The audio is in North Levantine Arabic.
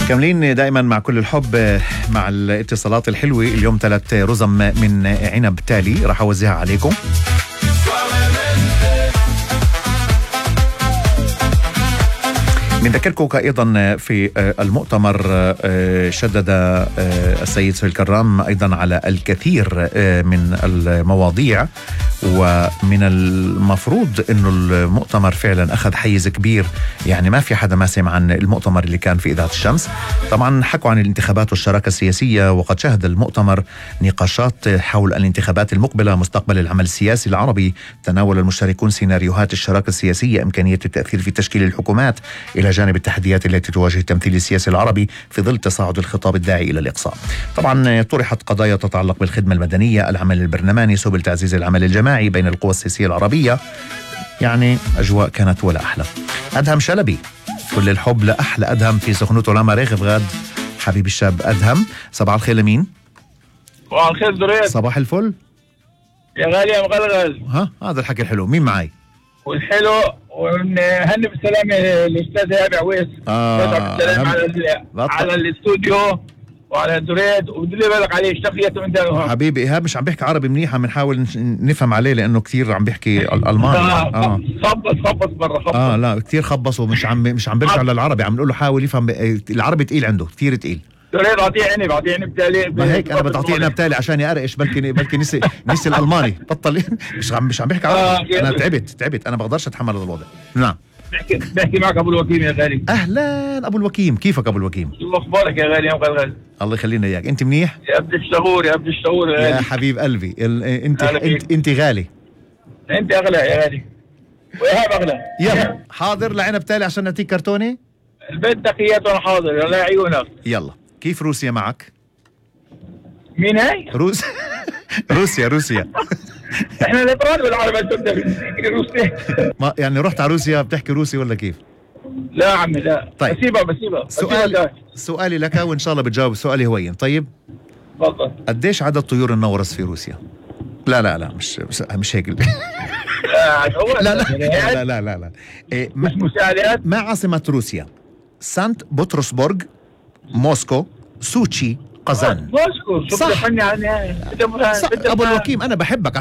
كاملين دائما مع كل الحب مع الاتصالات الحلوة. اليوم 3 رزم من عنب تالي راح أوزعها عليكم. بنذكركم أيضا في المؤتمر شدد السيد سهيل كرام أيضا على الكثير من المواضيع، ومن المفروض أنه المؤتمر فعلا أخذ حيز كبير. يعني ما في حدا ما سمع عن المؤتمر اللي كان في إذاعة الشمس. طبعا حكوا عن الانتخابات والشراكة السياسية، وقد شهد المؤتمر نقاشات حول الانتخابات المقبلة، مستقبل العمل السياسي العربي. تناول المشاركون سيناريوهات الشراكة السياسية، إمكانية التأثير في تشكيل الحكومات، إلى جانب التحديات التي تواجه التمثيل السياسي العربي في ظل تصاعد الخطاب الداعي إلى الإقصاء. طبعا طرحت قضايا تتعلق بالخدمة المدنية، العمل البرلماني، سبل تعزيز العمل الجماعي بين القوى السياسية العربية. يعني أجواء كانت ولا أحلى. أدهم شلبي، كل الحب لأحلى أدهم في سخنوته لما راغب غاد، حبيب الشاب أدهم. صباح الخير لمين؟ صباح الخير دريد. صباح الفل يا غالي يا مغلغل. هذا الحكي الحلو. مين معي؟ والحلو ونهني بالسلامة الأستاذ إيهاب عويس. بالسلامة على الاستوديو وعلى دريد، وبدي بالك عليه اشتقيته من دمه. حبيبي إيهاب مش عم بيحكي عربي منيح، عم نحاول نفهم عليه لأنه كتير عم بيحكي ألماني. خبص برا لا كتير خبص، ومش عم بيرجع للعربي. عم نقول له حاول يفهم العربي. تقيل عنده، كتير تقيل. دريد أعطيه عنب تالي. ما هيك أنا بدي أعطيه عنب تالي عشان يقرقش. بلكي نسي الألماني. بطل مش عم بيحكي عربي. أنا تعبت. أنا بقدرش أتحمل هذا الوضع. نعم. بحكي معك أبو الوكيم يا غالي. أهلا أبو الوكيم، كيفك أبو الوكيم؟ شو أخبارك يا غالي يا مغلغل؟ الله يخلينا إياك. أنت منيح؟ يا عبد الشغور يا غالي. يا حبيب قلبي. أنت غالي. أنت أغلى يا غالي، وإيهاب أغلى. يلا حاضر لعنب تالي عشان نعطيك كرتونة. البيت تقياتهم حاضر. يلا عيونك. يلا. كيف روسيا معك؟ مين هاي؟ روسيا. احنا الاتراد بالعربي تبدا روسي. ما يعني رحت على روسيا بتحكي روسي ولا كيف؟ لا عمي لا. طيب بسيبها. سؤالي لك وان شاء الله بتجاوب. سؤالي هوين. طيب تفضل. قديش عدد طيور النورس في روسيا؟ لا مش هيك. لا. مش مساعدات. ما عاصمة روسيا؟ سانت بطرسبرغ، موسكو، سوتشي، قزان. موسكو. صح. ابو الوكيم انا بحبك.